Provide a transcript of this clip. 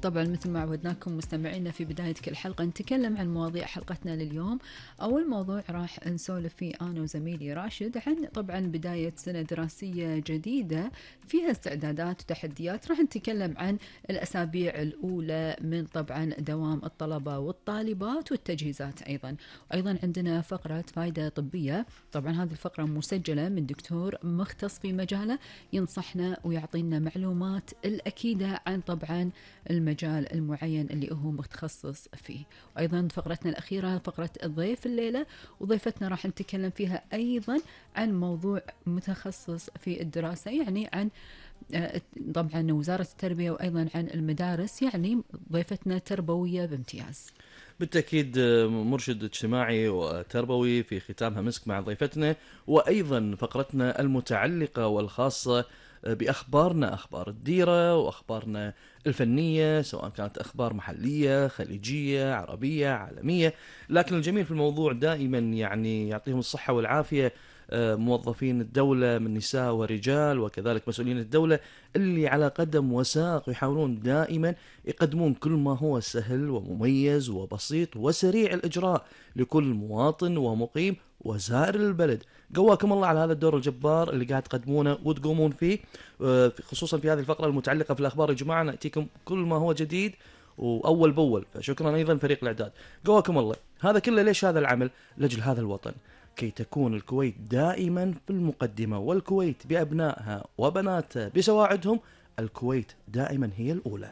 طبعا مثل ما عودناكم مستمعينا في بداية كل حلقة نتكلم عن مواضيع حلقتنا لليوم. أول موضوع راح نسولف فيه أنا وزميلي راشد عن طبعا بداية سنة دراسية جديدة فيها استعدادات وتحديات. راح نتكلم عن الأسابيع الأولى من طبعا دوام الطلبة والطالبات والتجهيزات وأيضا عندنا فقرة فائدة طبية. طبعا هذه الفقرة مسجلة من دكتور مختص في مجاله ينصحنا ويعطينا معلومات الأكيدة عن طبعا المجال المعين اللي هو متخصص فيه. وأيضا فقرتنا الأخيرة فقرة الضيف الليلة، وضيفتنا راح نتكلم فيها أيضا عن موضوع متخصص في الدراسة، يعني عن طبعا وزارة التربية وأيضا عن المدارس، يعني ضيفتنا تربوية بامتياز. بالتأكيد مرشد اجتماعي وتربوي في ختامها مسك مع ضيفتنا، وأيضا فقرتنا المتعلقة والخاصة بأخبارنا، أخبار الديرة وأخبارنا الفنية، سواء كانت أخبار محلية خليجية عربية عالمية. لكن الجميل في الموضوع دائما يعني يعطيهم الصحة والعافية موظفين الدولة من نساء ورجال وكذلك مسؤولين الدولة اللي على قدم وساق يحاولون دائما يقدمون كل ما هو سهل ومميز وبسيط وسريع الإجراء لكل مواطن ومقيم وزائر البلد. قواكم الله على هذا الدور الجبار اللي قاعد تقدمونه وتقومون فيه، خصوصا في هذه الفقرة المتعلقة في الأخبار. يا جماعة نأتيكم كل ما هو جديد وأول بأول، فشكرا أيضا فريق الإعداد. قواكم الله. هذا كله ليش هذا العمل؟ لأجل هذا الوطن، كي تكون الكويت دائما في المقدمة، والكويت بأبنائها وبناتها بسواعدهم، الكويت دائما هي الأولى.